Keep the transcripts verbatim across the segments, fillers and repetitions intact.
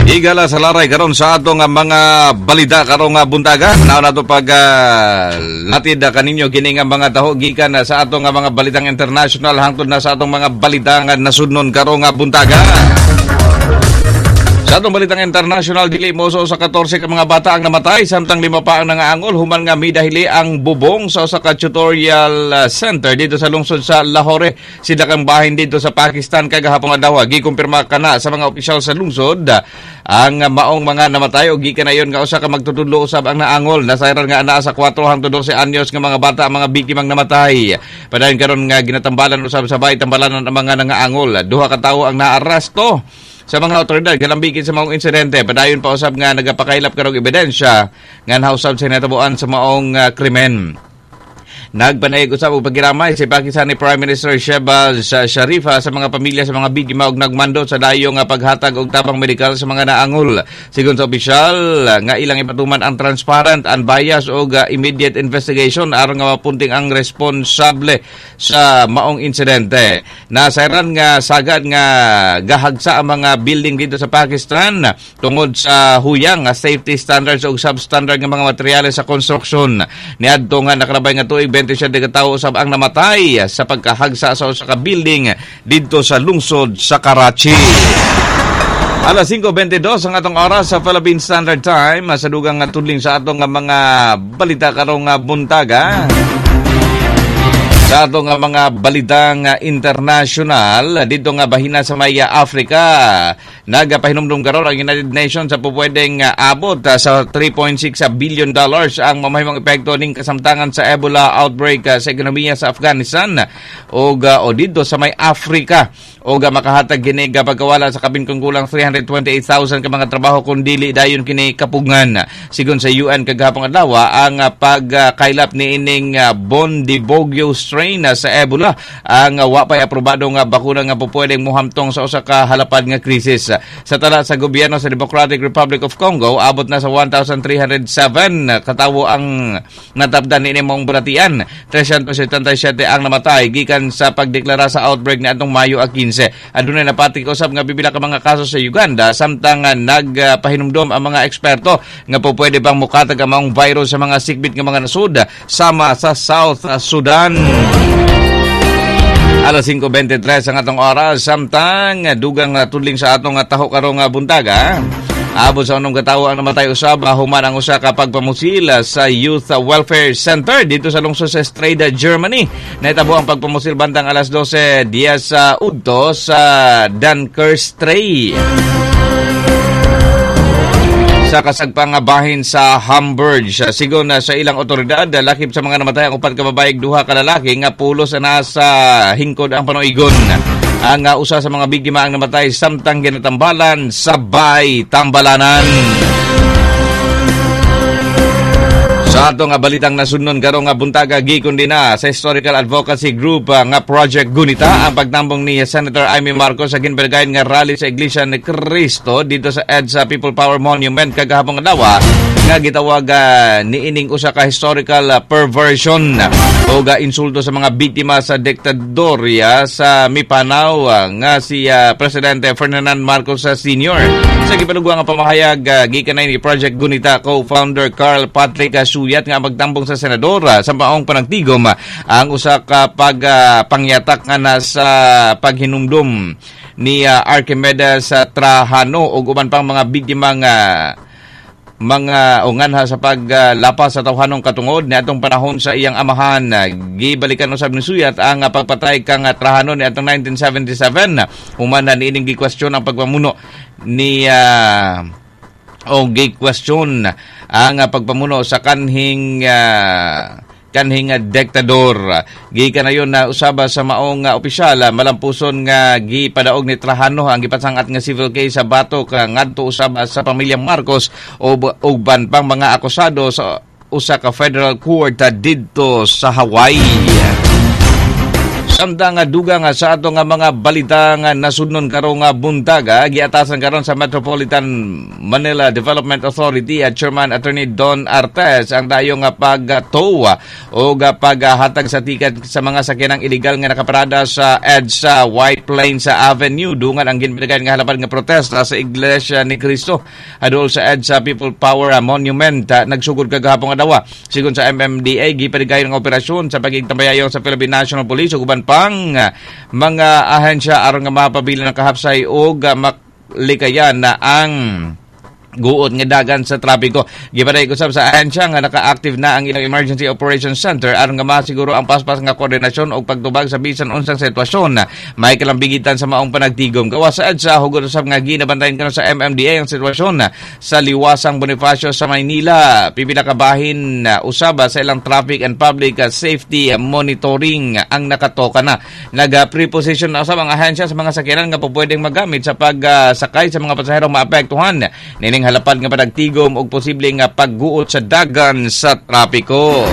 Higala sa laray karon sa atong nga mga balita karong nga buntaga. Naon nato pag uh, latid kaninyo kini nga mga taho gikan na sa atong nga mga balitang international hangtod na sa atong mga balita nga nasudnon karong nga buntaga. Sa atong balitang international, dili moso sa katorse ka mga bata ang namatay samtang lima pa ang nangaangol human nga midahili ang bubong sa usa ka tutorial uh, center dito sa lungsod sa Lahore. Sila kang bahin dito sa Pakistan kagahapon adlaw. Gikumpirma kana sa mga opisyal sa lungsod ang maong mga namatay og gikan na yon nga usa ka magtutudlo usab ang naangol. Nasayran nga anaa sa kuwatro hangtod dose anyos nga mga bata ang mga biktimang namatay. Padayon karon nga ginatambalan usab sa bay tambalanan ang mga nangaangol. Duha ka tawo ang naaresto sa mga otoridad galambikin sa maong insidente. Padayon pa usab nga nagapakailap karong ebidensya nga nausab sa natabuan sa maong uh, krimen. Nagpanayag usab og pagiramay si Pakistani Prime Minister Shehbaz Sharif sa mga pamilya sa mga biktima og nagmando sa dayo nga paghatag og tabang medikal sa mga naangol. Sigon sa opisyal nga ilang ipatuman ang transparent, unbiased og uh, immediate investigation aron nga mapunting ang responsable sa maong insidente. Nasayran nga sagad nga gahagsa ang mga building dito sa Pakistan tungod sa huyang nga safety standards og substandard nga mga materyales sa construction. Niadto nga nakalabay nga tuig, twenty-seven ka tawo usab ang namatay sa pagkahagsa sa usa ka building didto sa lungsod sa Karachi. Alas singko bente dos ang atong oras sa Philippine Standard Time, sa dugang nga tudling sa atong nga mga balita karong nga buntaga. Sa atong nga mga balitang international, dito nga bahina sa may Africa, nagapahinumdum karon ang United Nations sa pupwedeng abot sa three point six billion dollars ang mamahimong epekto ning kasamtangan sa Ebola outbreak sa ekonomiya sa Afghanistan ug o dito sa may Africa o makahatag kini pagkawala sa kapin kung kulang three hundred twenty-eight thousand ka mga trabaho kung dili dayon kini kapugngan. Sigon sa U N kagahapon adlaw, ang pagkaylap ni ining Bundibugyo strain sa Ebola ang wa pay aprobado nga bakuna nga pupwedeng mohamtong sa usa ka halapad nga krisis. Sa tala sa gobyerno sa Democratic Republic of Congo, abot na sa one thousand three hundred seven katawo ang natapdan niini maong balatian. three hundred seventy-seven ang namatay gikan sa pagdeklara sa outbreak ni atong Mayo labing kinse. Adunay napatik usab nga pipila ka mga kaso sa Uganda samtang nagpahinumdom ang mga eksperto nga po pwede pang mukatag ang maong virus sa mga sikbit nga mga nasud sama sa South Sudan. Alas singko bente tres ang atong oras samtang dugang tudling sa atong taho karong buntaga. Abot sa unom katawo ang namatay usab human ang usa ka pagpamusil sa Youth Welfare Center dito sa lungsod sa Streda, Germany. Nahitabo ang pagpamusil bandang alas dose diya sa udto sa Dunkerstray sa kasagpang bahin sa Hamburg. Sigon sa ilang otoridad, lakip sa mga namatay ang upat ka babae, duha ka lalaki nga pulos na nasa hingkod ang panuigon. Ang uh, usa sa mga biktima ang namatay samtang ginatambalan sa bay tambalanan. Sa ato nga balitang nasudnon karong nga buntaga, gikondena sa Historical Advocacy Group uh, nga Project Gunita ang pagtambong ni Senator Imee Marcos sa ginbalagayan nga rally sa Iglesia ni Cristo dito sa EDSA People Power Monument kagahapon adlaw nga gitawag uh, niining usa ka historical uh, perversion o ga insulto sa mga biktima sa diktadorya sa mipanaw uh, nga si uh, Presidente Ferdinand Marcos Senior. Sa gipalugwa nga pamahayag uh, gikan ni Project Gunita co-founder Karl Patrick Suyat nga magtambong sa senador sa maong panagtigom ang usa ka pag uh, pangyatak nga nasa paghinumdum ni uh, Archimedes uh, Trajano ug uban pang mga biktima nga mga o nganha sa paglapas sa tawhanong katungod ni atong panahon sa iyang amahan. Gibalikan usab ni Suyat ang pagpatay kang Trajano ni atong nineteen seventy-seven human na niining gikwestiyon ang pagpamuno ni uh, o gikwestiyon ang pagpamuno sa kanhing uh, kanhing diktador. Gikan na yun na usaba sa maong uh, opisyal, malampuson nga gipadaog ni Trajano ang gipasangat nga civil case sa batok uh, ngadto usab sa pamilya Marcos o uban pang mga akusado sa usa ka federal court didto sa Hawaii. Samtang nga dugang nga sa ato nga mga balita nga nasudnon karong nga buntag, ah, giatasan karon sa Metropolitan Manila Development Authority at Chairman Attorney Don Artes ang dayo nga pagtow o paghatag sa ticket sa mga sakyanang illegal nga nakaparada sa EDSA White Plains Avenue dungan ang ginpinagayon nga halapad nga protesta sa Iglesia ni Cristo adol sa EDSA People Power Monument, ah, nagsugod kagahapon adlaw. Sigon sa M M D A, gipanigayon ang operasyon sa pagigtambayayon sa Philippine National Police ug uban pang ah, mga ahensya aron nga mapabilin ang kahapsay ug ah, maklikayan na ang guot nga dagan sa trapiko. Gipaday usab sa ahensya nga naka-active na ang ilang Emergency Operations Center aron nga masiguro ang paspas nga koordinasyon ug pagtubag sa bisan unsang sitwasyon may kalambigitan sa maong panagtigom. Gawas sa EDSA, hugot usab nga ginabantayan karon sa M M D A ang sitwasyon sa Liwasang Bonifacio sa Maynila. Pipila ka bahin usab sa ilang traffic and public safety monitoring ang nakatoka na. Naga-preposition na usab ang ahensya sa mga sakyanan nga pupwedeng magamit sa pagsakay sa mga pasahero maapektuhan nining halapad nga panagtigom og posible nga pagguot sa dagan sa trapiko.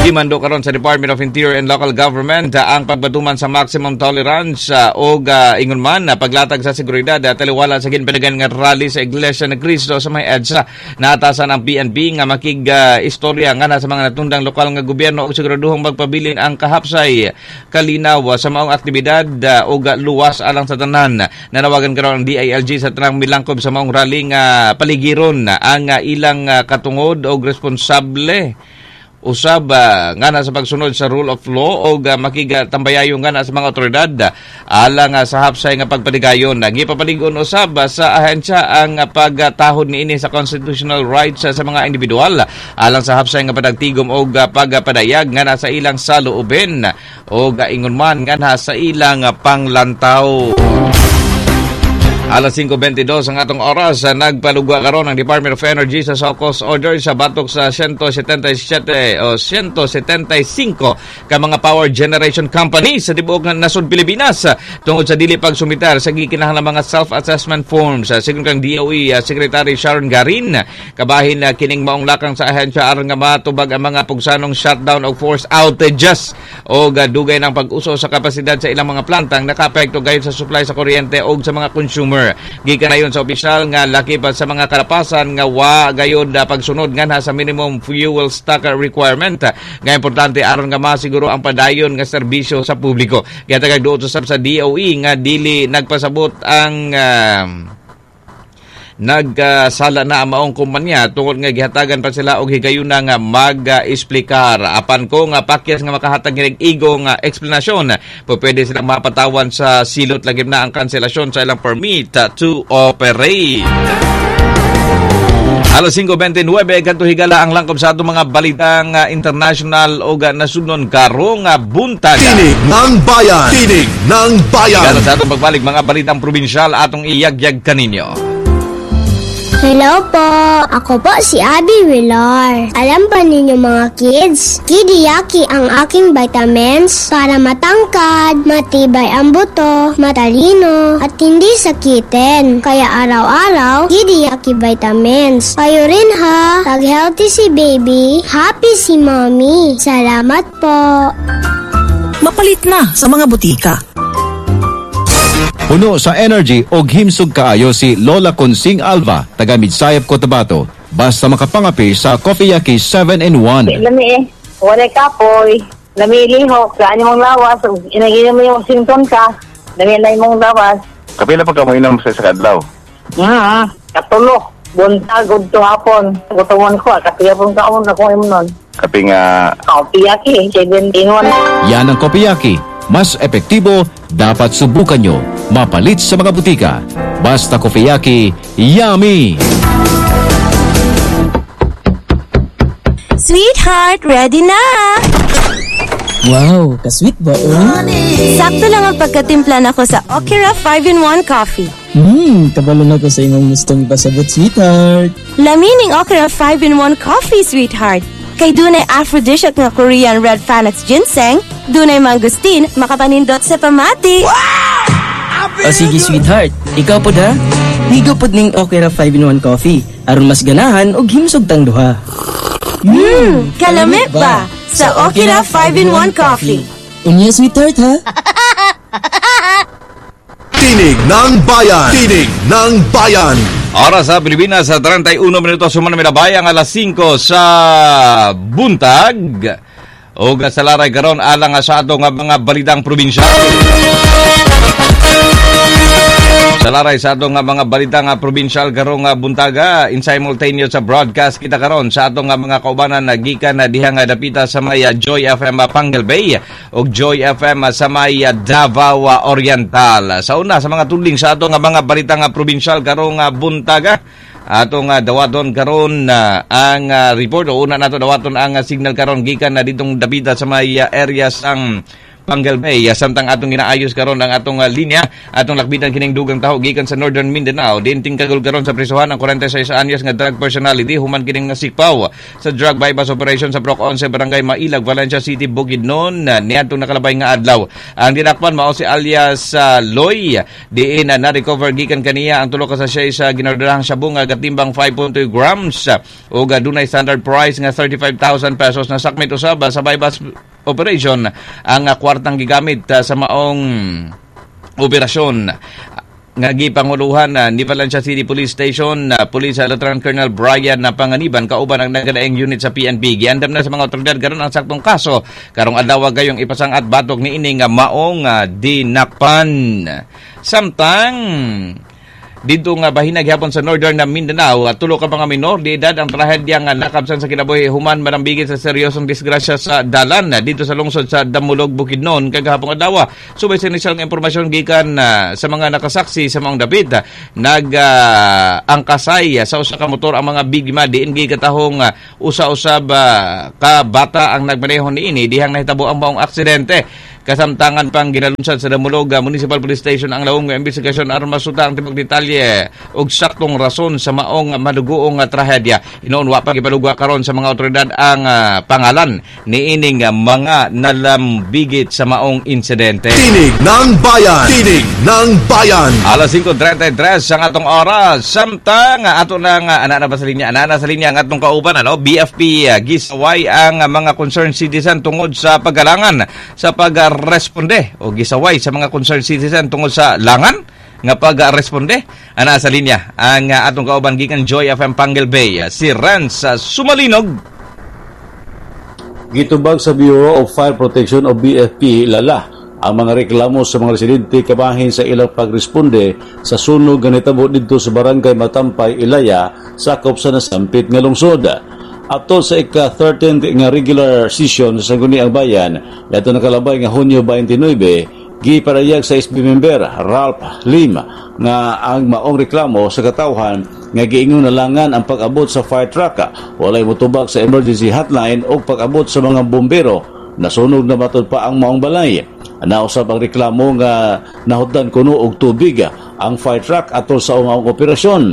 Gimando karon sa Department of Interior and Local Government uh, ang pagbatuman sa maximum tolerance uh, og uh, ingon man uh, paglatag sa seguridad at uh, taliwala sa ginpanagan nga rally sa Iglesia ni Cristo sa may EDSA. Naatasan ang P N P nga makig uh, istorya nga na sa mga natundang lokal nga gobyerno og siguraduhong magpabilin ang kahapsay, kalinaw uh, sa maong aktibidad uh, og uh, luwas alang sa tanan. Nanawagan karon ang D I L G sa tanang milangkob sa maong rally nga paligiron ang uh, ilang uh, katungod og responsable usab uh, nga na sa pagsunod sa rule of law o uh, makigatambayayo nga na sa mga otoridad alang uh, sa hapsay nga pagpaligayon. Gipapalig-on usab uh, sa ahensya ang uh, pagtahod niini sa constitutional rights uh, sa mga individual alang sa hapsay nga panagtigom og uh, pagpadayag nga na sa ilang saloobin o uh, ingon man nga na sa ilang uh, panglantaw. Alas singko bente dos ang atong oras, nagpalugwa karon ang Department of Energy sa show cause order sa batok sa one hundred seventy-seven o one hundred seventy-five ka mga power generation companies sa tibuok nga nasod Pilipinas tungod sa dili pagsumitar sa gikinahanglang mga self-assessment forms. Sigon kang D O E Secretary Sharon Garin, kabahin na kining maong lakang sa ahensya aron nga matubag ang mga pugsanong shutdown o forced outages o dugay ng pag-uso sa kapasidad sa ilang mga plantang nakaapekto gayud sa supply sa kuryente o sa mga consumer. Gikan ayon sa opisyal nga laki pa sa mga kalapasan nga wa gayud uh, pagsunod nga sa minimum fuel stock requirement nga importante aron nga masiguro ang padayon nga serbisyo sa publiko. Gihatag duot usab sa D O E nga dili nagpasabot ang uh, nagkasala na ang maong kumpanya tungod nga gihatagan pa sila og higayuna nga mag-esplikar. Apan kung nga pakyas nga makahatag kinig igo nga eksplanasyon, pwede silang mapatawan sa silot, lagim na ang kanselasyon sa ilang permit to operate. Alas singko bente nuwebe, kadto higala ang langkob sa atong mga balitang uh, international o nasudnon karong uh, buntag. Tinig ng Bayan! Tinig ng Bayan! Higala sa atong pagbalik, mga balitang probinsyal atong iyagyag kaninyo. Hello po! Ako po si Abby Villar. Alam ba ninyo, mga kids? Kidiyaki ang aking vitamins para matangkad, matibay ang buto, matalino, at hindi sakitin. Kaya araw-araw, Kidiyaki vitamins. Kayo rin ha! Pag healthy si baby, happy si mommy. Salamat po! Mapalit na sa mga butika. Puno sa energy og himsog kaayo si Lola Consing Alva, taga Midsayap, Cotabato. Basta makapangapi sa Coffee-Yaki seven in one. Lami eh. Walay kapoy. Lami lihok. Sa mong lawas. Inaginom mo yung sinton ka. Lami na imong lawas. Kapila pa ka mo inom sa sa kadlaw? Hmm. Katulo. Buntag, udto hapon. Gutomon ko. Kapiya pong kaon ako imnon. Kape nga Coffee-Yaki. seven in one. Yan ang Coffee-Yaki. Mas epektibo, dapat subukan nyo. Mapalit sa mga butika. Basta Coffee-Yaki, yummy! Sweetheart, ready na! Wow, ka-sweet ba oh? Sakto lang ang pagkatimpla nako sa Okira five in one Coffee. Hmm, kabalo na ko sa imong gustong ipasabot, sweetheart. Lamining Okira five in one Coffee, sweetheart. Kay dunay aphrodisiac nga Korean red Panax ginseng, dunay mangosteen, makapanindot sa pamati. O sige, sweetheart, ikaw pod ha? Ligo pod ning Okira five in one Coffee aron mas ganahan og himsog tang duha. Hmm, kalamit ba? Sa Okira five in one Coffee. Unya, sweetheart, ha? Tinig ng Bayan. Tinig ng Bayan. Oras sa Pilipinas sa trenta'y uno minuto suman milabay ang alas singko sa buntag. O sa laray karon alang sa atong mga balitang probinsyal. Sa laray sa atong mga balitang probinsyal karong buntaga, in simultaneous sa broadcast kita karon sa atong mga kaubanan na gikan na diha nga dapita sa may Joy F M Panguil Bay ug Joy F M sa may Davao Oriental. Sa una sa mga tudling sa atong mga balitang probinsyal karong buntaga, atong uh, dawaton karon uh, ang uh, report o una nato dawaton ang uh, signal karon gikan na ditong dapita sa may uh, areas ang Panguil Bay. Samtang atong ginaayos karon ang atong uh, linya, atong lakbitan kining dugang taho gikan sa Northern Mindanao. Diin tingkagol karon sa prisuhan ang kwarenta y sais anyos nga drug personality human kining nasikpaw sa drug bypass operation sa Purok onse, Barangay Mailag, Valencia City, Bukidnon uh, niadtong nakalabay nga adlaw. Ang dinakpan mao si alias uh, Loy, diin uh, na-recover gikan kaniya ang tulo ka sachet sa ginordahang shabu nga gatimbang five point two grams uh, ug uh, dunay standard price nga thirty-five thousand pesos. Nasakmit usab uh, sa bypass operation ang uh, kwartang gigamit uh, sa maong operasyon nga gipanguluhan uh, ni Valencia City Police Station uh, Police uh, Lieutenant Colonel Brian na Panganiban kauban ang nagkalaing unit sa P N P. Giandam na sa mga otoridad karon ang saktong kaso karong adlaw gayong ipasangat batok niini nga maong uh, dinakpan. Samtang dito nga bahina gihapon sa Northern na Mindanao, at tulo ka mga minor di edad ang trahedya nga nakabsan sa kinabuhi human manambigit sa seryosong disgrasya sa dalan dito sa lungsod sa Damulog, Bukidnon kagahapon adlaw. Subay sa inisyal nga impormasyon gikan uh, sa mga nakasaksi sa maong dapit, nag uh, angkasay sa usa ka motor ang mga biktima diin gikatahong uh, usa-usab uh, ka bata ang nagmaneho niini dihang nahitabo ang maong aksidente. Kasamtangan pang ginalunsad sa Damulog Municipal Police Station ang lawom nga investigasyon aron masuta ang tibuok detalye ug saktong rason sa maong madugoong trahedya. Hinuon wa pa gipalugwa karon sa mga otoridad ang uh, pangalan niining uh, mga nalambigit sa maong insidente. Tinig ng Bayan. Tinig ng Bayan. Alas singko trenta'y tres ang atong oras. Samtang ato nang uh, ana na ba sa linya? Ana na sa linya ang atong kauban, ano? B F P uh, gisaway ang uh, mga concerned citizen tungod sa paggalangan sa pag-responde o gisaway sa mga concerned citizen tungod sa langan nga pag-responde. Ana sa linya ang uh, atong kauban gikan Joy F M Panguil Bay, uh, si Renz uh, Sumalinog. Gitubag sa Bureau of Fire Protection o B F P Lala ang mga reklamo sa mga residente kabahin sa ilang pagresponde sa sunog nga nitabo didto sa Barangay Matampay, Ilaya, sakop sa nasampit nga lungsod. Ato sa ika thirteenth nga regular session sa Sangguniang Bayan, adto nakalabay nga Hunyo baynte nuwebe, giparayag sa S B member Ralph Lim nga ang maong reklamo sa katawhan nga giingon nalangan ang pag-abot sa fire truck, walay motubag sa emergency hotline o pag-abot sa mga bombero, nasunog na matud pa ang maong balay. Nausab ang reklamo nga nahutdan kuno og tubig ang fire truck atol sa maong operasyon.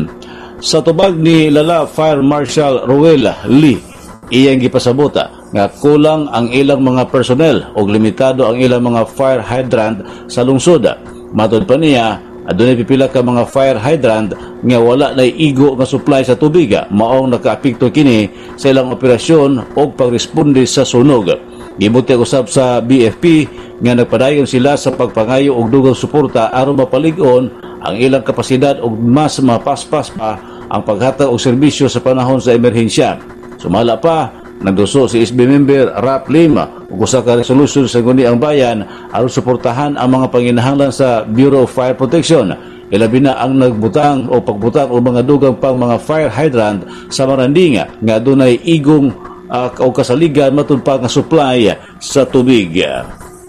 Sa tubag ni Lala Fire Marshal Ruel Lee, iyang gipasabot nga kulang ang ilang mga personnel o limitado ang ilang mga fire hydrant sa lungsod. Matod pa niya, adunay pipila ka mga fire hydrant nga wala na igo nga supply sa tubig, maong nakaapekto kini sa ilang operasyon o pagresponde sa sunog. Gibutyag usab sa B F P nga nagpadayon sila sa pagpangayo og dugang suporta aron mapalig-on ang ilang kapasidad ug mas mapaspas pa ang paghatag og serbisyo sa panahon sa emerhensya. Sumala pa, nagduso si S B member Rap Lima ug usa ka resolution sa Sangguniang Bayan aron suportahan ang mga panginahanglan sa Bureau of Fire Protection. Ilabi na ang nagbutang o pagbutang og mga dugang pang mga fire hydrant sa Maranding nga adunay igong uh, o kasaligan matud pa nga supply sa tubig.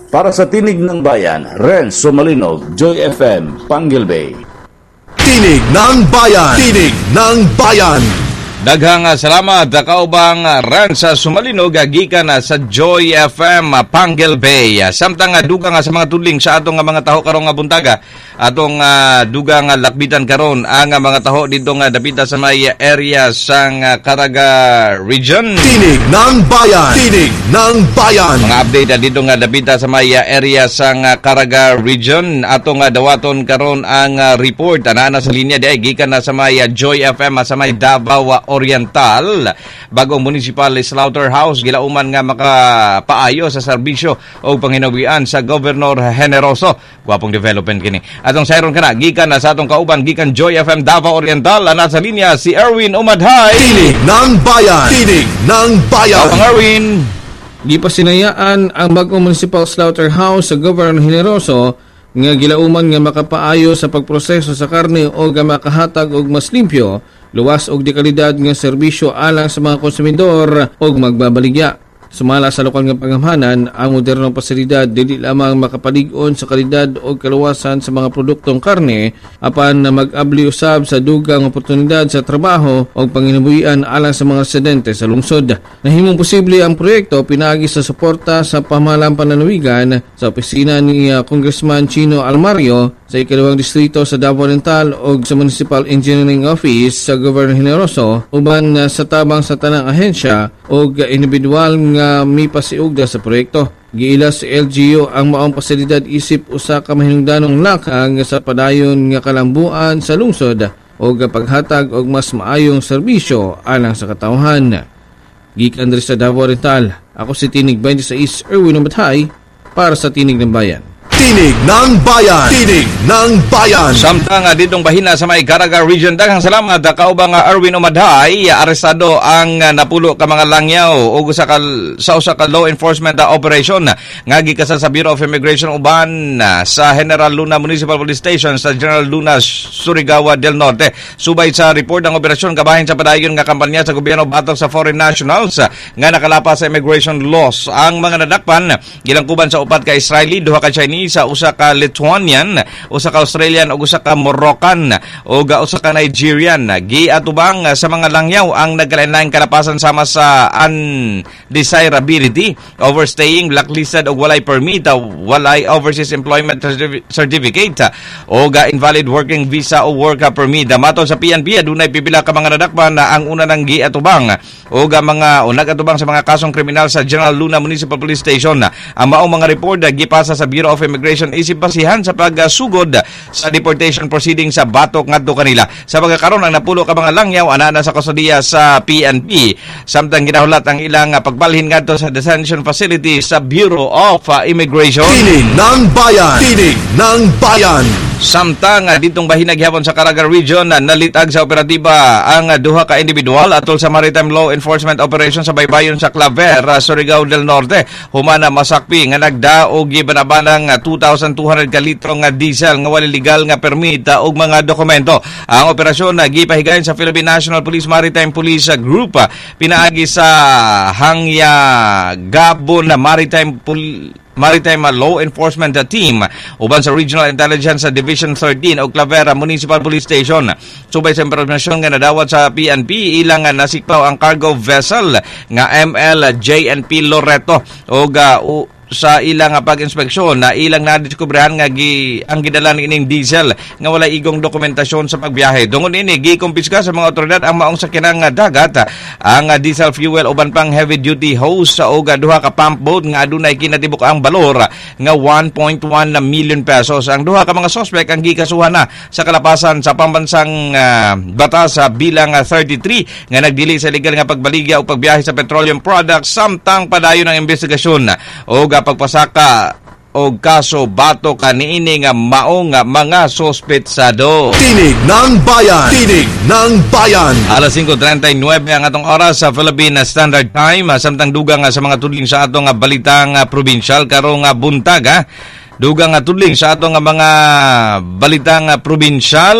Para sa Tinig ng Bayan, Renz Sumalinog, Joy F M, Panguil Bay. Tinig ng Bayan. Tinig ng Bayan. Daghang salamat, kaubang Renz Sumalinog gikan sa Joy F M Panguil Bay. Samtang dugang sa mga tudling sa atong mga taho karong buntaga, atong uh, dugang lakbitan karon ang mga taho dito nga dapita sa may area sang Caraga Region. Tinig ng Bayan. Tinig ng Bayan. Mga update dito nga dapita sa may area sang Caraga Region, atong dawaton karon ang report. Ana na sa linya di gikan na sa may Joy F M sa may Davao Oriental. Bagong Municipal Slaughterhouse gilauman nga makapaayo sa serbisyo o panginawian sa Governor Generoso. Gwapong development kini. Atong sayron kana gikan na sa atong kauban gikan Joy F M Davao Oriental, ana sa linya si Erwin Umadhay. Tinig ng Bayan. Tinig ng Bayan. Ang Erwin. Gipasinayaan ang bagong Municipal Slaughterhouse sa Governor Generoso nga gilauman nga makapaayo sa pagproseso sa karne o nga makahatag og mas limpyo, luwas og dekalidad nga serbisyo alang sa mga konsumidor og magbabaligya. Sumala sa lokal nga pangamahanan, ang modernong pasilidad dili lamang makapalig-on sa kalidad o kaluwasan sa mga produktong karne, apan na mag-abli usab sa dugang oportunidad sa trabaho o panginabuhian alang sa mga residente sa lungsod. Nahimong posible ang proyekto pinaagi sa suporta sa pamahalaang panlalawigan sa opisina ni uh, Congressman Chino Almario sa ikalawang distrito sa Davao Oriental o sa Municipal Engineering Office sa Governor Generoso, uban uh, sa tabang sa tanang ahensya o individual nga mipasiugda sa proyekto. Giila sa L G U ang maong pasilidad isip usa ka mahinungdanong lakang sa padayon nga kalambuan sa lungsod o paghatag og mas maayong serbisyo alang sa katawhan. Gikan diri sa Davao Oriental, ako si Tinig twenty-six Erwin Umathay para sa Tinig ng Bayan. Tinig ng Bayan. Tinig ng Bayan. Samtang uh, ditong bahina sa may Caraga Region, daghang salamat uh, kaubang uh, Erwin Umadhay, arestado ang uh, napulo ka mga langyaw ug usa ka sa usa ka law enforcement uh, operation nga gikasal sa Bureau of Immigration uban uh, sa General Luna Municipal Police Station sa General Luna, Surigao del Norte. Subay sa report, ang operasyon kabahin sa padayon nga kampanya sa gobyerno batok sa foreign nationals uh, nga nakalapas sa immigration laws. Ang mga nadakpan gilangkuban sa upat ka Israeli, duha ka Chinese, sa usa ka Lithuanian, usa ka Australian ug usa ka Moroccan ug usa ka Nigerian. Giatubang sa mga langyaw ang nagkalain-laing kalapasan sama sa undesirability, overstaying, blacklisted ug walay permit, walay overseas employment certificate ug invalid working visa o work permit. Matod sa P N P, adunay pipila ka mga nadakpan na ang una nang giatubang ug mga o nagatubang sa mga kasong kriminal sa General Luna Municipal Police Station. Ang maong mga report gipasa sa Bureau of Immigration isip basihan sa pagsugod sa deportation proceeding sa batok ngadto kanila. Sa pagkakaron, ang napulo ka mga langyaw ana na sa kustodiya sa P N P samtang ginahulat ang ilang pagbalhin ngadto sa detention facility sa Bureau of Immigration. Tinig ng Bayan. Tinig ng Bayan. Samtang ditong bahina gihapon sa Caraga Region, nalitag sa operatiba ang duha ka individual atol sa Maritime Law Enforcement Operation sa baybayon sa Claver, Surigao del Norte. Humana masakpi nga nagdaog gibanabanang two thousand two hundred ka litro nga diesel nga wala legal nga permit ug mga dokumento. Ang operasyon gipahigayon sa Philippine National Police Maritime Police Group pinaagi sa Hangya Gabon Maritime Police Maritime Law Enforcement Team uban sa Regional Intelligence Division thirteen o Clavera Municipal Police Station. Subay sa impormasyon nga nadawat sa P N P, ilang nasikpaw ang cargo vessel nga M L J N P Loreto og uh, sa ilang pag-inspeksyon na ilang nadiskubrehan nga gi, ang gidala ining diesel nga wala igong dokumentasyon sa pagbiyahe. Dungon ini, gikumpiska sa mga otoridad ang maong sakyanang dagat, ang diesel fuel uban pang heavy duty hose ug duha ka pump boat nga adunay kinatibuk ang balor nga one point one million pesos. Ang duha ka mga suspect ang gikasuhan na sa kalapasan sa pambansang uh, batas sa bilang thirty-three nga nagdili sa legal nga pagbaligya o pagbiyahe sa petroleum products samtang padayon ang investigasyon o pagpasaka og kaso batok kaniini nga maong mga sospetsado. Tinig ng Bayan. Tinig ng Bayan. Alas singko trentay nuwebe ang atong oras sa Philippine Standard Time. Samtang dugang sa mga tudling sa atong balitang probinsyal karong buntag ha. Dugang tudling sa atong mga balitang probinsyal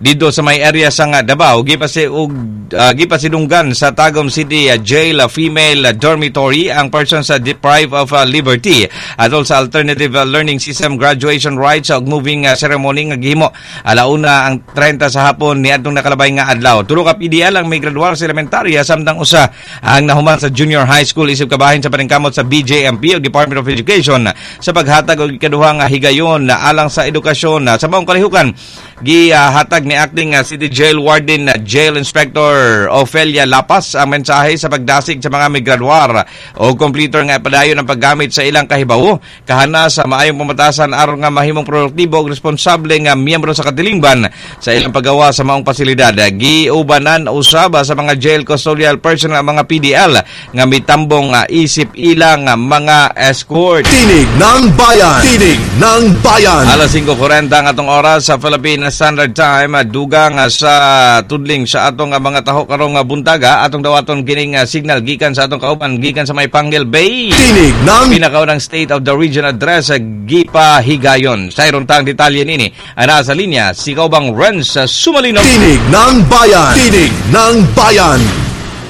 dito sa may area sa nga Davao, gipasi og uh, gipasidunggan sa Tagum City uh, Jail uh, Female uh, Dormitory ang person sa deprived of uh, liberty atol sa Alternative uh, Learning System graduation rites ug moving uh, ceremony nga gihimo alauna ang trenta sa hapon niadtong nakalabay nga adlaw. Tulo ka P D L ang may graduar sa elementarya samtang usa ang nahuman sa junior high school isip kabahin sa paningkamot sa B J M P o Department of Education sa paghatag og ikaduha nga higayon na alang sa edukasyon. Sa maong kalihukan, gihatag ni acting uh, City Jail Warden uh, Jail Inspector Ofelia Lapas ang mensahe sa pagdasig sa mga migraduar o completer nga padayon ang paggamit sa ilang kahibawo kahana sa maayong pamatasan aron nga mahimong produktibo ug responsable nga miyembro sa katilingban sa ilang paggawa sa maong pasilidad. Giubanan usab sa mga jail custodial personnel ang mga P D L nga mitambong uh, isip ilang uh, mga escort. Tinig ng Bayan. Tinig ng Bayan. Alas singko kwarenta ang atong oras sa Philippine Standard Time. Dugang sa tudling sa atong mga taho karong buntaga, atong dawaton kining signal gikan sa atong kauban gikan sa may Panguil Bay. Tinig ng Pinakaunang State of the Region Address gipa higayon. Sa tang detalye nini, ana sa linya si kaubang Renz Sumalinog. Tinig ng Bayan. Tinig ng Bayan.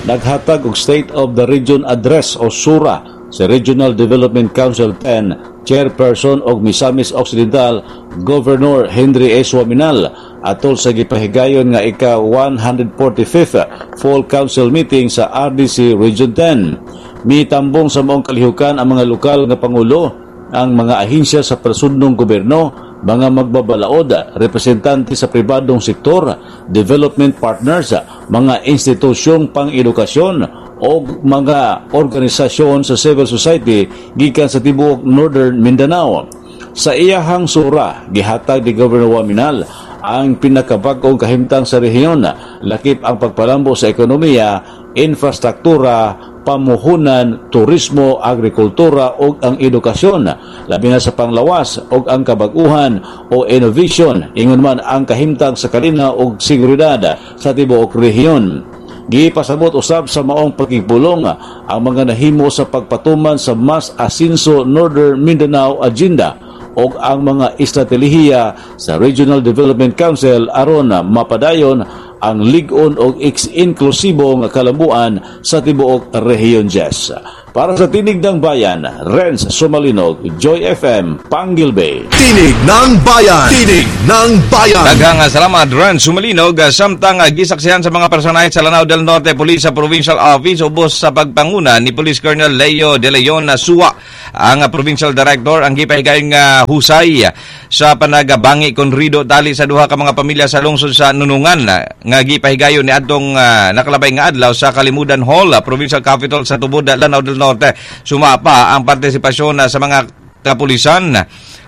Naghatag og State of the Region Address o SURA sa Regional Development Council ten Chairperson og Misamis Occidental Governor Henry S. Oaminal atol sa gipahigayon nga ika one hundred forty-fifth Full Council Meeting sa R D C Region ten. Mitambong sa maong kalihukan ang mga lokal nga pangulo, ang mga ahensya sa prasudnong gobyerno, mga magbabalaod, representante sa pribadong sektor, development partners, mga institusyong pang-edukasyon o mga organisasyon sa civil society gikan sa tibuok Northern Mindanao. Sa iyahang sura, gihatag ni Governor Oaminal ang pinakabag-ong kahimtang sa rehiyon, lakip ang pagpalambo sa ekonomiya, infrastruktura, pamuhunan, turismo, agrikultura ug ang edukasyon, labi na sa panglawas ug ang kabag-uhan o innovation, ingon man ang kahimtang sa kalinaw ug seguridad sa tibuok rehiyon. Gipasabot usab sa maong pagkipulong ang mga nahimo sa pagpatuman sa Mas Asinso Northern Mindanao Agenda o ang mga estratehiya sa Regional Development Council aron mapadayon ang lig-on og inklusibo nga kalambuan sa tibuok Rehiyon Jess. Para sa Tinig ng Bayan, Renz Sumalinog, Joy F M, Panguil Bay. Tinig ng Bayan. Tinig ng Bayan. Daghang salamat, Renz Sumalinog. Samtang gisaksihan sa mga personahe sa Lanao del Norte Police sa Provincial Office ubos sa pagpanguna ni Police Colonel Leo De Leon Sua ang Provincial Director ang gipahigayon nga husay sa panagabangi kon rido tali sa duha ka mga pamilya sa lungsod sa Nunungan nga gipahigayon ni adtong uh, nakalabay nga adlaw sa Kalimudan Hall, Provincial Capital sa Tubod, Lanao del Norte. Sumapa ang partisipasyon sa mga kapulisan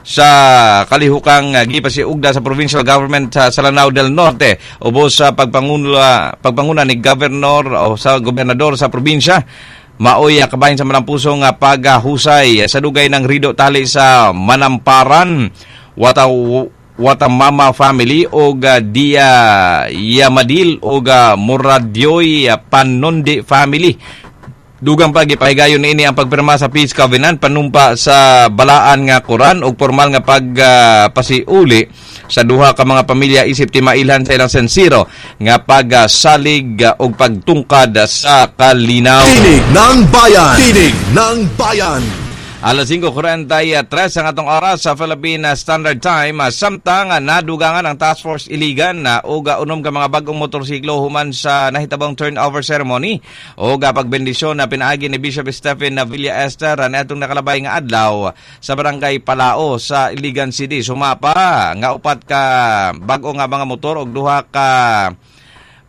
sa kalihukang gipasiugda sa provincial government sa Lanao del Norte ubos sa pagpanguna pagpanguna ni governor o sa gobernador sa probinsya. Maoy kabahin sa malampusong paghusay sa dugay ng rido tali sa Manamparan, Wata Watamama family og uh, Dia Yamadil og uh, Muradyoy Panondi family. Dugang pa, gipahigayon niini ang pagpirma sa Peace Covenant, panumpa sa balaan nga Koran ug formal nga pagpasiuli uh, sa duha ka mga pamilya isip timailhan sa ilang sensiro nga pagsalig uh, ug pagtungkad sa kalinaw. Tinig ng Bayan. Tinig ng Bayan. Alas singko kwarenta y tres ang atong oras sa Philippine Standard Time. Samtang nadugangan ang Task Force Iligan na og unom ka mga bagong motorsiklo human sa nahitabong turnover ceremony o pagbendisyon na pinaagi ni Bishop Stephen Villa Esther na atong nakalabay nga adlaw sa Barangay Palao sa Iligan City. Sumapa nga upat ka bag-o nga mga motor og duha ka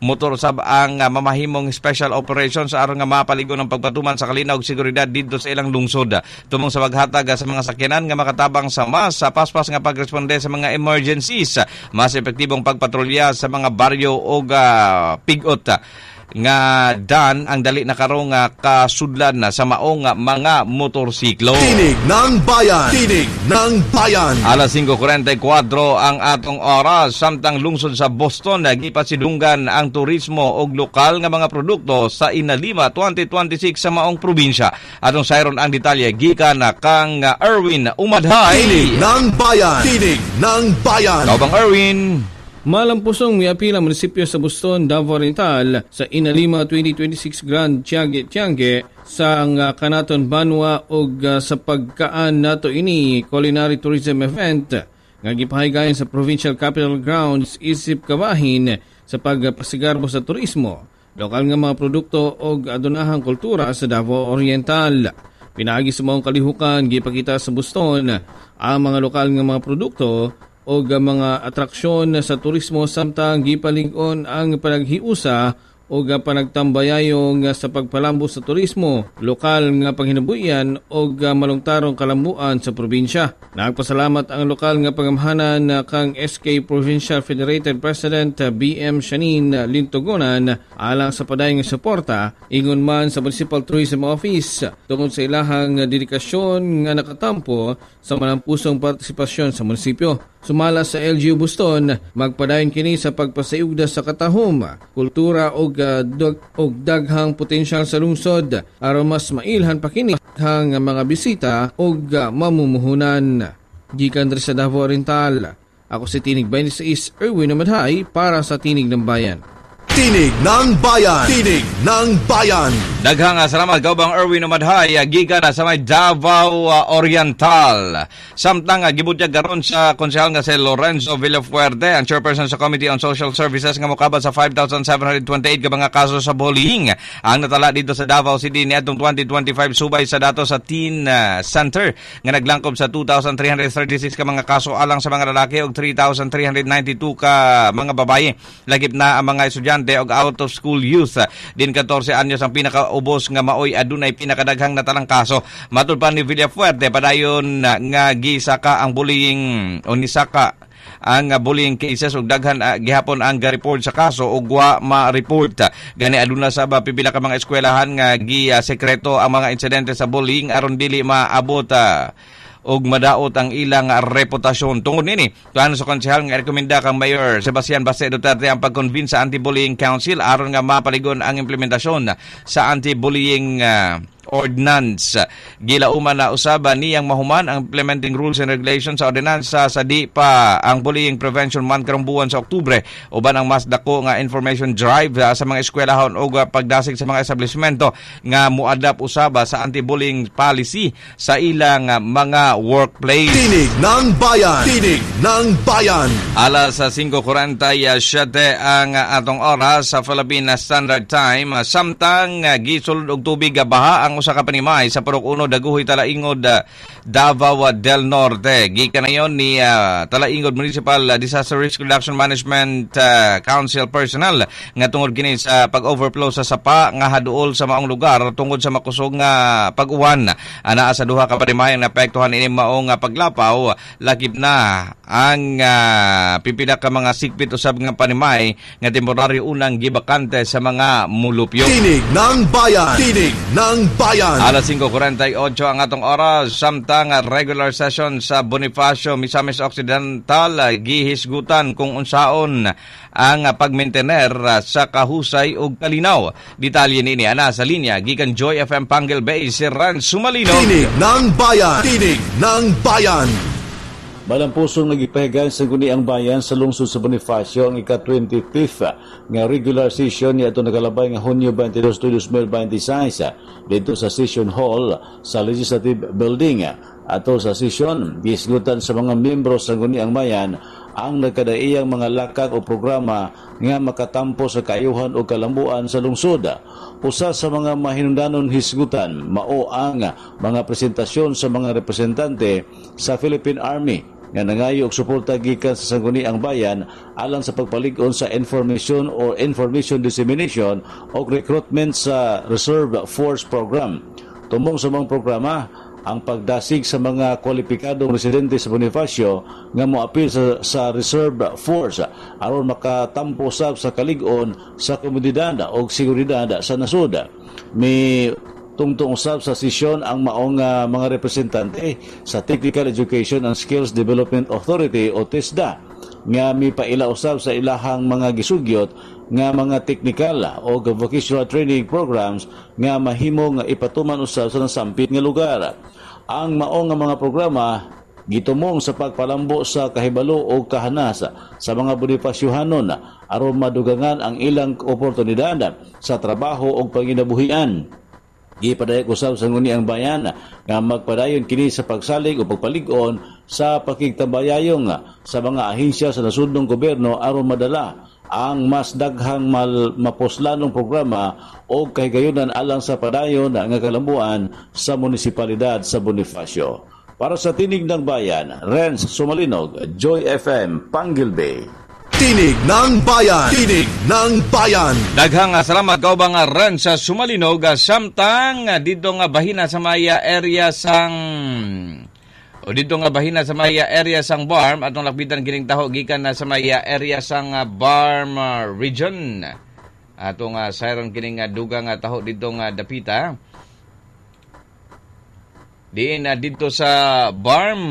motor sab ang uh, mamahimong special operations aron nga mapaligon ang pagpatuman sa kalinaw ug seguridad didto sa ilang lungsod. Tumong sa paghatag sa mga sakyanan nga makatabang sa mas sa paspas nga pagresponde sa mga emergencies, mas epektibong pagpatrolya sa mga baryo ug uh, pigot nga dan ang dali na karong uh, kasudlan na sa maong mga motorsiklo. Tinig ng Bayan. Tinig ng Bayan. Alas singko kwarenta y kuwatro ang atong oras. Samtang lungsod sa Boston gipasidunggan ang turismo ug lokal nga mga produkto sa Inalima twenty twenty-six sa maong probinsya. Atong sayron ang detalye gikan na kang Erwin Umadhay. Tinig ng Bayan. Tinig ng Bayan. Kaubang Erwin. Malampusong miapil ang munisipyo sa Buston, Davao Oriental sa Inalima twenty twenty-six Grand Tiangge Tiangge sa ang Kanaton Banwa ug uh, sa pagkaan nato ini culinary tourism event nga gipahigayon sa Provincial Capitol Grounds isip kabahin sa pagpasigarbo sa turismo, lokal nga mga produkto ug adunahang kultura sa Davao Oriental. Pinaagi sa maong kalihukan, gipakita sa Buston ang mga lokal nga mga produkto og mga atraksyon sa turismo samtang gipalig-on ang panaghiusa og panagtambayayong sa pagpalambo sa turismo, lokal nga panghinabuhian og malungtarong kalambuan sa probinsya. Nagpasalamat ang lokal nga pangamhanan kang S K Provincial Federated President B M Shanin Lintogonan alang sa padayon nga suporta, ingon man sa Municipal Tourism Office tungod sa ilahang dedikasyon nga nakatampo sa malampusong partisipasyon sa munisipyo. Sumala sa L G U Buston, magpadayon kini sa pagpasayugda sa katahom, kultura og uh, dag, og daghang potensyal sa lungsod aron mas mailhan pa kini ang mga bisita og uh, mamumuhunan. Gikan diri sa Davao Oriental, ako si Tinig twenty-six Erwin Madhay para sa Tinig ng Bayan. Tinig ng Bayan. Tinig ng Bayan. Daghang salamat, Kaubang Erwin Umadhay, gikan na sa may Davao Oriental. Samtang gibutyag karon sa konsehal nga si Lorenzo Villafuerte, ang chairperson sa Committee on Social Services, nga mokabot sa five thousand seven hundred twenty-eight ka mga kaso sa bullying ang natala dito sa Davao City niadtong twenty twenty-five subay sa datos sa Teen Center nga naglangkob sa two thousand three hundred thirty-six ka mga kaso alang sa mga lalaki ug three thousand three hundred ninety-two ka mga babaye. Lakip na ang mga estudyante og out of school youth. Din fourteen anyos ang pinakaubos nga maoy adunay pinakadaghang natalang kaso. Matud pa ni Villafuerte, padayon nga gisaka ang bullying o nisaka ang bullying cases ug daghan uh, gihapon ang ga-report sa kaso ug wa ma-report. Gani aduna sa ba pipila ka mga eskwelahan nga gi-sekreto ang mga insidente sa bullying aron dili maabot uh, og madaot ang ilang reputasyon. Tungod nini, tuan sa konsehal nga rekomenda kang Mayor Sebastian Baste Duterte ang pag-convene sa Anti-Bullying Council aron nga mapaligon ang implementasyon sa anti-bullying uh, ordinance. Gilauman na usaba niyang mahuman ang implementing rules and regulations sa ordinansa sa di pa ang Bullying Prevention Month karong buwan sa Oktubre uban ang mas dako nga information drive uh, sa mga eskwelahon ug uh, pagdasig sa mga establishmento nga muadapt usaba sa anti-bullying policy sa ilang uh, mga workplace. Tinig ng Bayan. Tinig ng Bayan. Alas sa five forty-seven ang atong oras sa Philippine Standard Time. Samtang gisulod og tubig baha ang usa ka panimay sa Purok Uno, Daguhoy, Talaingod, Davao del Norte. Gikan nayon ni uh, Talaingod Municipal Disaster Risk Reduction Management uh, Council personnel nga tungod kini sa pag-overflow sa sapa nga haduol sa maong lugar tungod sa makusog nga pag-uwan. Anaa sa duha ka panimay ang naapektuhan ini maong paglapaw, lakip na ang uh, pipila ka mga sikpit usab nga panimay nga temporaryo unang gibakante sa mga mulupyo. Tinig ng Bayan. Tinig ng Bayan. Alas five forty-eight ang atong oras, samtang regular session sa Bonifacio, Misamis Occidental, gihisgutan kung unsaon ang pagmaintener sa kahusay ug kalinaw. Detalye nini ana sa linya gikan Joy F M Panguil Bay, si Ran Sumalino. Tinig ng Bayan. Tinig ng Bayan. Malampusong nagipahigayon sa Sangguniang Bayan sa lungsod sa Bonifacio ang ika-twenty-fifth nga regular session niya ito nakalabay nga Hunyo twenty-two, twenty twenty-six dito sa Session Hall sa Legislative Building. Ato sa session, gisgutan sa mga miyembro sa Sangguniang Bayan ang nagkadaiyang mga lakak o programa nga makatampo sa kaayuhan o kalambuan sa lungsod. Usa sa mga mahinundanon hisgutan mao ang mga presentasyon sa mga representante sa Philippine Army nga nangayo og suporta gikan sa Sangguniang Bayan alang sa pagpalig-on sa information or information dissemination o recruitment sa Reserve Force Program. Tumong sa mga programa, ang pagdasig sa mga kwalipikadong residente sa Bonifacio nga moapil sa, sa Reserve Force aron makatampo sab sa kalig-on sa komunidad o seguridad sa nasod. May tungtong usab sa sesyon ang maong uh, mga representante sa Technical Education and Skills Development Authority o TESDA nga mipaila usab sa ilahang mga gisugyot nga mga technical o vocational training programs nga mahimo nga ipatuman usab sa nasampit nga lugar. Ang maong nga mga programa gitumong sa pagpalambo sa kahibalo o kahanas sa mga Bonifaciohanon aron madugangan ang ilang oportunidad sa trabaho o panginabuhian. Gipadayag usab sa Sangguniang Bayan nga magpadayon kini sa pagsalig o pagpalig-on sa pakigtambayayong sa mga ahensya sa nasudnong gobyerno aron madala ang mas daghang mal, mapuslanong programa o kahigayunan alang sa padayon nga kalambuan sa munisipalidad sa Bonifacio. Para sa Tinig ng Bayan, Renz Sumalinog, Joy F M, Panguil Bay. Tinig ng Bayan! Tinig ng Bayan! Daghang salamat kaubang Renz Sumalinog samtang dito nga bahina sa maya area sang o dito nga bahina sa maya area sang Barm atong lakbitan kining taho gikan na sa maya area sang Barm region. Atong uh, sayron kining uh, dugang uh, taho dito nga dapita. Diin uh, dito sa Barm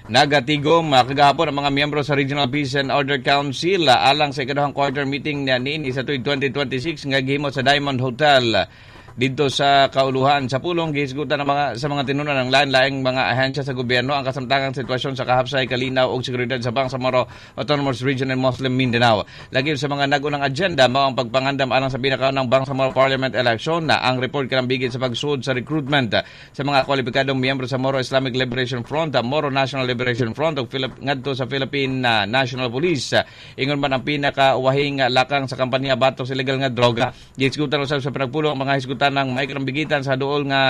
nagatigom uh, kagahapon ang mga miyembro sa Regional Peace and Order Council uh, alang sa ikaduhang quarter meeting na niini sa tuig twenty twenty-six nga gihimo sa Diamond Hotel dito sa Kauluhan. Sa pulong gihisgutan ng mga sa mga tinunan ng lain-laing mga ahensya sa gobyerno ang kasamtangang sitwasyon sa kahapsay, kalinaw ug seguridad sa Bangsamoro Autonomous Region and Muslim Mindanao. Lagi sa mga nag-unang agenda mao ang pagpangandam alang sa pinakaunang Bangsamoro Parliament Election na ang report kalambigit sa pagsud sa recruitment sa mga kwalipikadong miyembro sa Moro Islamic Liberation Front, Moro National Liberation Front ug Philip ngadto sa Philippine National Police. Ingon man ang pinakauwahing lakang sa kampanya batok sa illegal nga droga. Gihisgutan usab sa pinagpulong ang mga hisgutan ng may karambigitan sa duol nga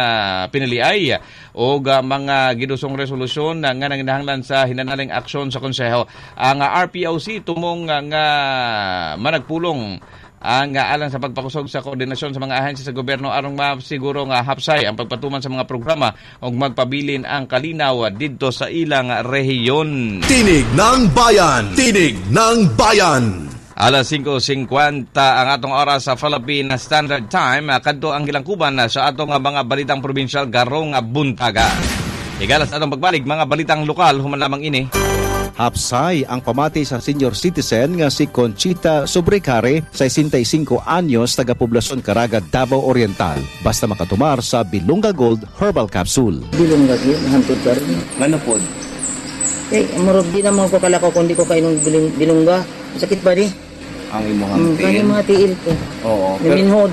piniliay o mga gidusong resolusyon nga nanginahanglan sa hinanaling aksyon sa konseho. Ang R P O C tumong nga managpulong ang alang sa pagpakusog sa koordinasyon sa mga ahensya sa gobyerno aron masiguro nga hapsay ang pagpatuman sa mga programa ug magpabilin ang kalinaw didto sa ilang rehiyon. Tinig ng Bayan! Tinig ng Bayan! Alas singko singkwenta ang atong oras sa Philippine Standard Time. Kadto ang gilangkuban sa atong mga balitang probinsyal garong buntaga. Igalas atong pagbalik mga balitang lokal human lamang ini. Hapsay ang pamati sa senior citizen nga si Conchita Sobrecare, sesenta y cinco anyos, taga-poblasyon Caraga, Davao Oriental. Basta makatumar sa Bilonga Gold Herbal Capsule. Bilonga Gold, hantod ka rin. Ano po? Eh, murag di naman ko kalakaw kung di ko kainom bilongga. Sakit ba di? Ang imong mm, tiil? Ang mga tiil ko. Oo. Naminhod.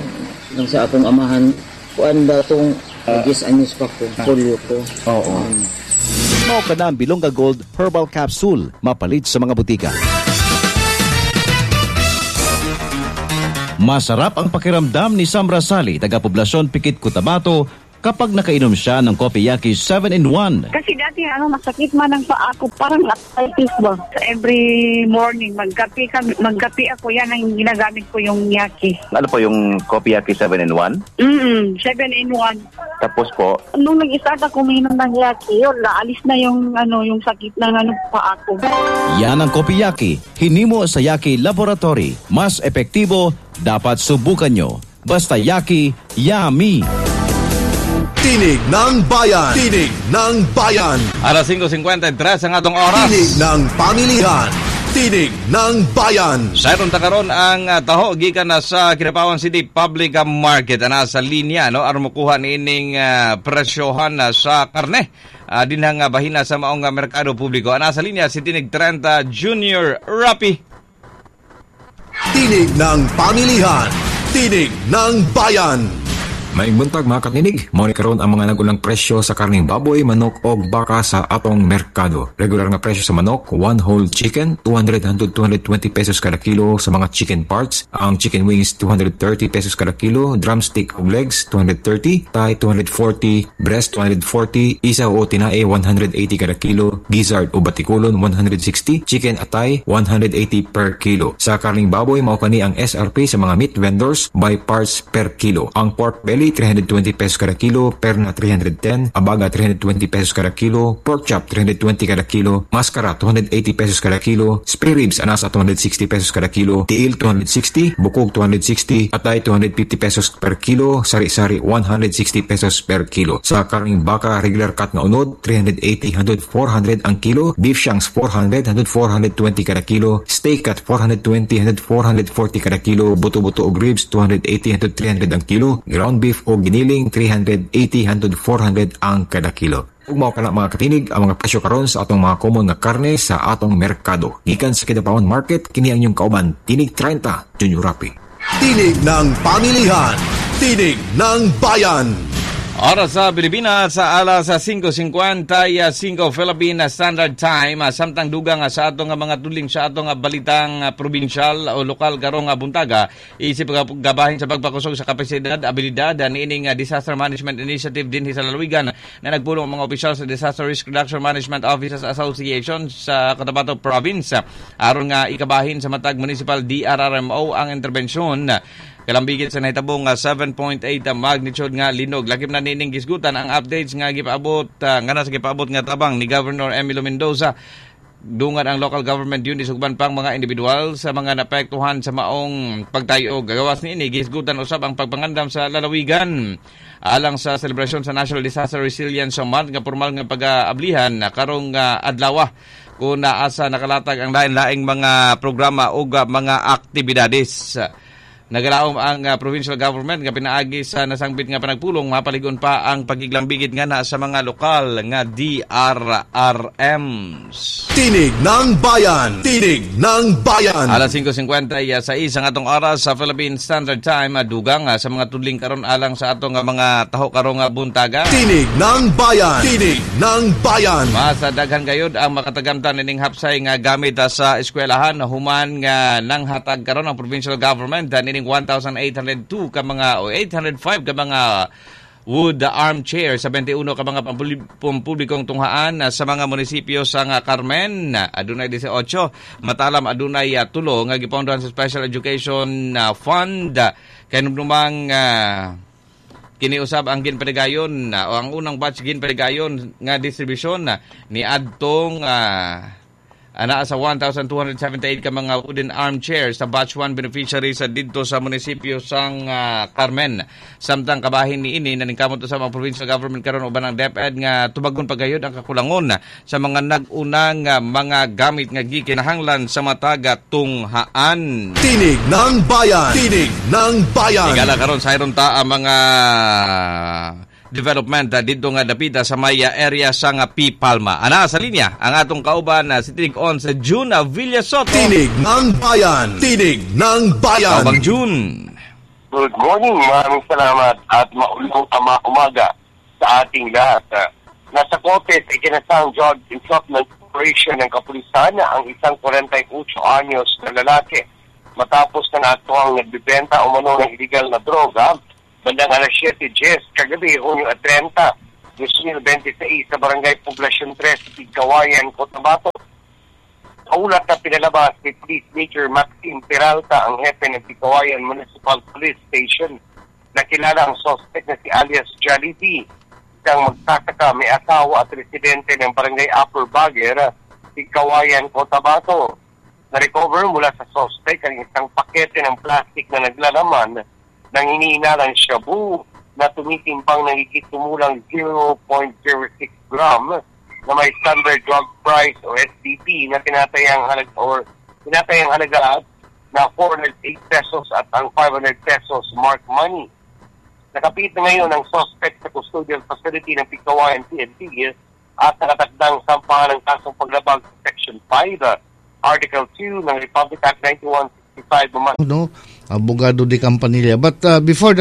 Lang sa akong amahan, kuan ba itong uh, ten anyos pa ko, polio ko. Oo. Um, Mao ka na ang Bilonga Gold Herbal Capsule. Mapalit sa mga butika. Masarap ang pakiramdam ni Sam Rasali, taga-poblasyon Pikit, Cotabato, kapag nakainom siya ng Kopiyaki seven in one. Kasi dati ano, masakit man ang paa ko, parang arthritis ba? Every morning, magkape, kami, magkape ako, yan ang ginagamit ko yung yaki. Ano po yung Kopiyaki seven in one? Mm, seven in one. Tapos po? Nung nag-start ako uminom ng yaki, yun, naalis na yung, ano, yung sakit ng ano, paa ko. Yan ang Kopiyaki, hinimo sa Yaki Laboratory. Mas epektibo, dapat subukan nyo. Basta Yaki, yummy! Tinig ng Bayan! Tinig ng Bayan! Alas singko singkwenta y tres ang atong oras. Tinig ng Pamilihan! Tinig ng Bayan! Sayron ta karon ang taho gikan na sa Kidapawan City Public Market ana sa linya no aron mokuha niining uh, presyohan na sa karne uh, dinhang uh, bahina sa maong uh, merkado publiko. Ana sa linya si Tinig trenta Junior Rapi. Tinig ng Pamilihan! Tinig ng Bayan! Maayong buntag mga katinig, mao ni karon ang mga nagulang presyo sa karning baboy, manok og baka sa atong merkado. Regular nga presyo sa manok, one whole chicken, two hundred hangtod two hundred twenty pesos kada kilo sa mga chicken parts. Ang chicken wings, two hundred thirty pesos kada kilo, drumstick og legs, two hundred thirty, thigh, two hundred forty, breast, two hundred forty, isaw o tinae, one hundred eighty kada kilo, gizzard o batikulon, one hundred sixty, chicken atay, one hundred eighty per kilo. Sa karning baboy, mao kani ang S R P sa mga meat vendors by parts per kilo. Ang pork belly, three hundred twenty pesos kada kilo, perna three hundred ten, abaga three hundred twenty pesos kada kilo, pork chop three hundred twenty kada kilo, mascara two hundred eighty pesos kada kilo, spare ribs anasa two hundred sixty pesos kada kilo, tiil two hundred sixty, bukog two hundred sixty, atay two hundred fifty pesos per kilo, sari-sari one hundred sixty pesos per kilo. Sa karning baka, regular cut nga unod, three hundred eighty hangtod four hundred ang kilo, beef shanks four hundred hangtod four hundred twenty kada kilo, steak cut four hundred twenty hangtod four hundred forty kada kilo, buto-buto og ribs two hundred eighty hangtod three hundred ang kilo, ground beef o giniling three hundred eighty hangtod four hundred ang kada kilo. Ug mao kana mga katinig ang mga presyo karon sa atong mga common nga karne sa atong merkado. Gikan sa Kidapawan Market, kini ang inyong kauban, Tinig trenta, Junior Rapi. Tinig ng Pamilihan, Tinig ng Bayan. Oras sa Pilipinas sa alas sa singko singkwenta y singko Philippine Standard Time, samtang dugang sa atong mga tudling sa atong balitang probinsyal o lokal karong buntaga, isip gabahin sa pagpakusog sa kapasidad, abilidad niining Disaster Management Initiative dinhi sa lalawigan na nagpulong ang mga opisyal sa Disaster Risk Reduction Management Officers Association sa Cotabato Province aron nga ikabahin sa matag municipal D R R M O ang interbensyon kalambigit sa nahitabong seven point eight magnitude nga linog. Lakip na nining gisgutan ang updates nga gipaabot uh, nga nasa gipaabot nga tabang ni Governor Emilio Mendoza dungan ang local government units ug uban pang mga individual sa mga naapektuhan sa maong pagtayog. Gagawas niini, gisgutan usab ang pagpangandam sa lalawigan alang sa selebrasyon sa National Disaster Resilience Month nga formal nga pag-aablihan karong uh, adlaw kung naasa nakalatag ang lain-laing mga programa ug mga aktibidades. Nagalaom ang uh, provincial government nga pinaagi sa nasangbit nga panagpulong mapaligon pa ang pagiglambigit nga na sa mga lokal nga D R R Ms. Tinig ng Bayan! Tinig ng Bayan! Alas singko singkwenta y sais ang atong oras sa Philippine Standard Time, dugang sa mga tudling karon alang sa atong mga taho karong buntaga. Tinig ng Bayan! Tinig ng Bayan! Mas daghan gayud ang makatagamtan ining hapsay nga gamit sa eskwelahan human nga nanghatag karon ang provincial government nining one thousand eight hundred two ka mga o eight hundred five ka mga wood armchair sa twenty-one ka mga pampublikong tunghaan sa mga munisipyo sa nga Carmen adunay eighteen, Matalam adunay tulo nga gipondohan sa Special Education Fund. Kay numang uh, kini usab ang ginpanigayon o ang unang batch ginpanigayon nga distribusyon ni adtong uh, anaa sa one thousand two hundred seventy-eight ka mga wooden armchairs sa batch one beneficiaries sa didto sa munisipyo sang uh, Carmen. Samtang kabahin niini, naningkamot sa mga provincial government karon uban ang DepEd nga tubagon pagayod ang kakulangon sa mga nag-unang uh, mga gamit nga gikinahanglan sa mataga tunghaan. Tinig ng Bayan! Tinig ng Bayan! Higala karon sa iron ta ang mga development uh, dito nga dapita sa may area sa nga P. Palma. Ana sa linya ang atong kauban uh, si Tinig On sa June Villasoto. Tinig ng Bayan! Tinig ng Bayan! Kaubang June. Good morning, maraming salamat at maulang ama umaga sa ating lahat. Nasa korte sa ikinasang drug entrapment operation ng kapulisan ang isang forty-eight anyos na lalaki matapos na naaktuhang nagbibenta umano ng illegal na droga bandang alas siyete diyes kagabi, Hunyo trenta, twenty twenty-six sa Barangay Poblacion three, Pigkawayan, Cotabato. Sa ulat na pinalabas ni Police Major Maxine Peralta, ang hepe ng Pigkawayan Municipal Police Station, nakilala ang suspect na si alias Jollibee, isang magsasaka, may asawa at residente ng Barangay Upper Baguer, Pigkawayan, Cotabato. Na-recover mula sa suspect ang isang pakete ng plastic na naglalaman ng hinihinalang shabu na tumitimbang ng higit kumulang zero point zero six gram na may standard drug price o S D P na tinatayang halaga or tinatayang halaga na four hundred eight pesos at ang five hundred pesos mark money. Nakapit na ngayon ang suspect sa custodial facility ng Pigkawayan P N P at nakatakdang sampahan ng kasong paglabag sa Section five, Article two ng Republic Act ninety-one sixty-five. No, abogado de Campanilla. But uh, before that,